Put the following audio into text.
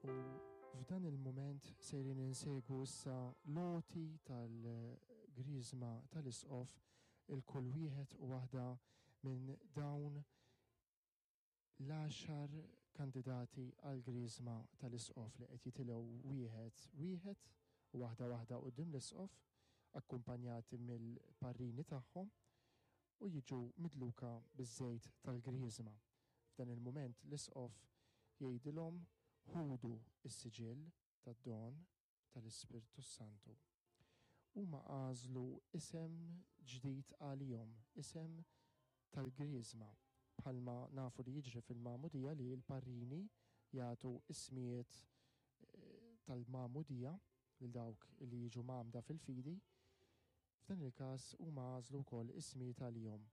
U f'dan il-mument sejrin insegwu issa l-għoti tal-Griżma tal-Isqof il kull wieħed u waħda minn dawn l-għaxar kandidati għall-Griżma tal-Isqof li qed jitilgħu wieħed wieħed u waħda waħda quddiem l-Isqof akkumpanjati mill-parrini tagħhom u jiġu midluka biż-żejt tal-Griżma. F'dan il-mument l-Isqof jgħidilhom ħudu s-siġill tad-don tal-Ispirtu s-Santu. Huma għażlu isem ġdid għalihom, isem tal-Griżma, bħalma nafu li jiġri fil-magħmudija li l-parrini jagħtu ismijiet eh, tal-magħmudija lil dawk li jiġu mgħammda fil-fidi. F'dan il-każ huma għażlu wkoll ismijiet għalihom.